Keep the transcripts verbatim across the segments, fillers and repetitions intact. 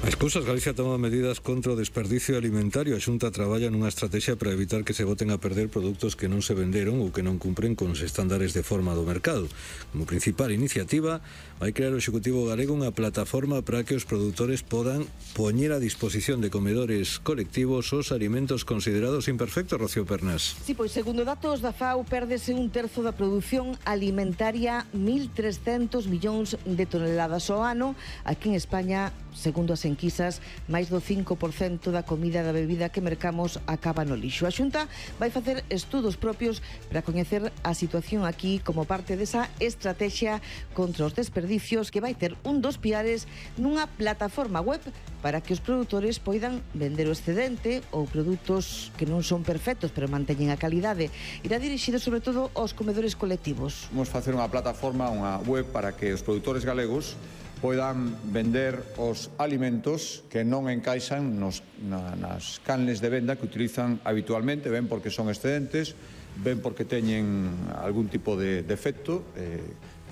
As cousas, Galicia toma medidas contra o desperdicio alimentario. A Xunta traballa nunha estrategia para evitar que se boten a perder produtos que non se venderon ou que non cumpren con os estándares de forma do mercado. Como principal iniciativa, vai crear o Executivo galego unha plataforma para que os produtores podan poñer a disposición de comedores colectivos os alimentos considerados imperfectos, Rocío Pernas. Sí, pois segundo datos da FAO, pérdese un terzo da produción alimentaria, mil trescentos millóns de toneladas ao ano. Aquí en España, segundo as enquisas, máis do cinco por cento da comida e da bebida que mercamos acaba no lixo. A Xunta vai facer estudos propios para coñecer a situación aquí como parte desa estrategia contra os desperdicios que vai ter un dos piares nunha plataforma web para que os produtores poidan vender o excedente ou produtos que non son perfectos pero manteñen a calidade. Irá dirixido sobre todo aos comedores colectivos. Vamos facer unha plataforma, unha web para que os produtores galegos poidan vender os alimentos que non encaixan nos, na, nas canles de venda que utilizan habitualmente, ben porque son excedentes, ben porque teñen algún tipo de defecto eh,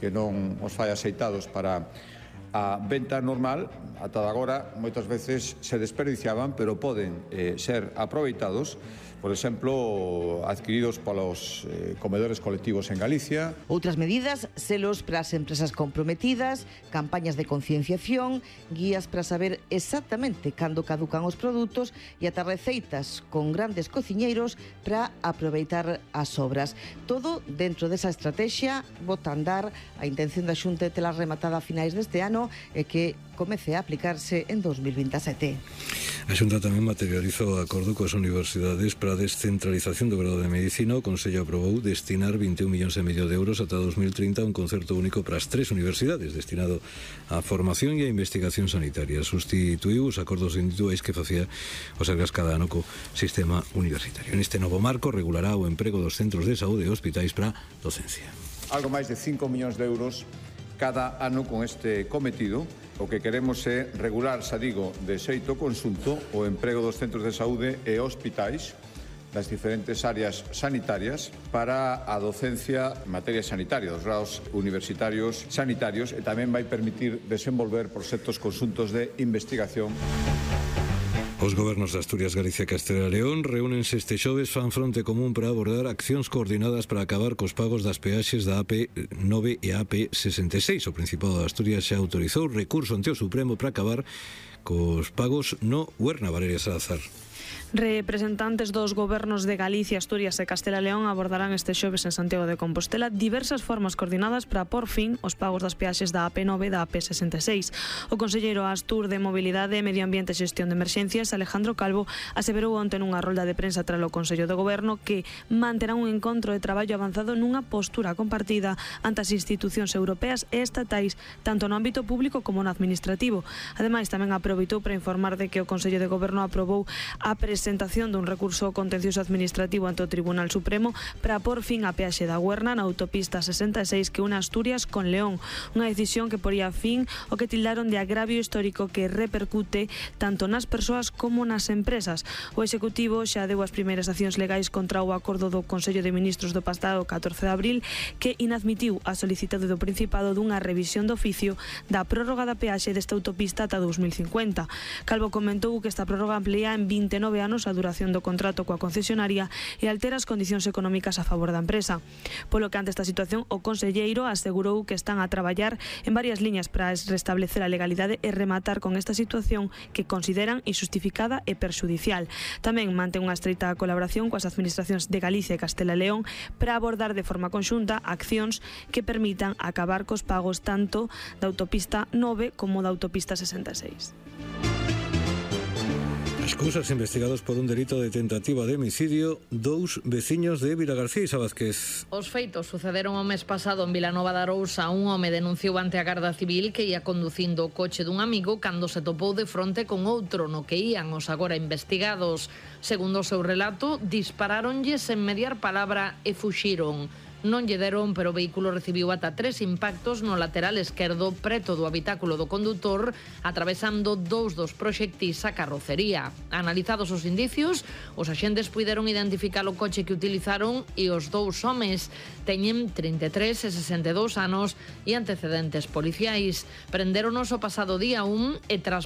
que non os fai aceitados para a venta normal. Ata agora moitas veces se desperdiciaban, pero poden eh, ser aproveitados, por exemplo, adquiridos polos eh, comedores colectivos en Galicia. Outras medidas, selos para as empresas comprometidas, campañas de concienciación, guías para saber exactamente cando caducan os produtos e ata receitas con grandes cociñeiros para aproveitar as sobras. Todo dentro desa estrategia, bota a andar. A intención da Xunta é tela rematada a finais deste ano e que comece a aplicarse en dos mil veintisiete. A Xunta tamén materializou o acordo coas universidades para a descentralización do grado de Medicina. O Consello aprobou destinar vinte e un millóns e medio de euros ata dos mil trinta a un concerto único para as tres universidades destinado á formación e á investigación sanitaria. Sustituiu os acordos individuais que facía o Sergas cada ano co sistema universitario. Neste novo marco regulará o emprego dos centros de saúde e hospitais para docencia. Algo máis de cinco millóns de euros cada ano con este cometido. O que queremos é regular, xa digo, de xeito conxunto o emprego dos centros de saúde e hospitais das diferentes áreas sanitarias para a docencia en materia sanitaria, dos grados universitarios sanitarios, e tamén vai permitir desenvolver proxectos conxuntos de investigación. Os gobernos de Asturias, Galicia e Castela e León reúnense este xoves, fan fronte común para abordar accións coordinadas para acabar cos pagos das peaxes da A P nove e a A P sesenta e seis. O Principado de Asturias xa autorizou recurso ante o Supremo para acabar cos pagos no Huerna. Valeria Salazar. Representantes dos gobernos de Galicia, Asturias e Castela e León abordarán este xoves en Santiago de Compostela diversas formas coordinadas para por fin os pagos das peaxes da A P nove e da A P sesenta e seis. O conselleiro Astur de Mobilidade, Medio Ambiente e Xestión de Emerxencias, Alejandro Calvo, aseverou onte nunha rolda de prensa tras o Consello de Goberno que manterá un encontro de traballo avanzado nunha postura compartida ante as institucións europeas e estatais, tanto no ámbito público como no administrativo. Ademais, tamén aproveitou para informar de que o Consello de Goberno aprobou a presentación dun recurso contencioso administrativo ante o Tribunal Supremo para por fin a peaxe da Huerna na autopista sesenta e seis que une Asturias con León, unha decisión que poría fin o que tildaron de agravio histórico que repercute tanto nas persoas como nas empresas. O Executivo xa deu as primeiras accións legais contra o acordo do Consello de Ministros do pasado catorce de abril que inadmitiu a solicitado do Principado dunha revisión de oficio da prórroga da peaxe desta autopista ata dos mil cincuenta. Calvo comentou que esta prórroga amplía en vinte e nove anos a duración do contrato coa concesionaria e altera as condicións económicas a favor da empresa. Polo que ante esta situación, o conselleiro asegurou que están a traballar en varias liñas para restablecer a legalidade e rematar con esta situación que consideran injustificada e perxudicial. Tamén mantén unha estreita colaboración coas administracións de Galicia e Castela e León para abordar de forma conxunta accións que permitan acabar cos pagos tanto da autopista nove como da autopista sesenta e seis. Excusas investigados por un delito de tentativa de homicidio dous veciños de Vilagarcía. Isa Vázquez. Os feitos sucederon o mes pasado en Vilanova de Arousa. Un home denunciou ante a Garda Civil que ia conducindo o coche dun amigo cando se topou de fronte con outro no que ían os agora investigados. Segundo o seu relato, disparáronlle sen mediar palabra e fuxiron. Non lle deron, pero o vehículo recibiu ata tres impactos no lateral esquerdo preto do habitáculo do condutor, atravesando dous dos proxectis a carrocería. Analizados os indicios, os axentes puideron identificar o coche que utilizaron e os dous homes teñen trinta e tres e sesenta e dous anos e antecedentes policiais. Prenderonos o pasado día un e tras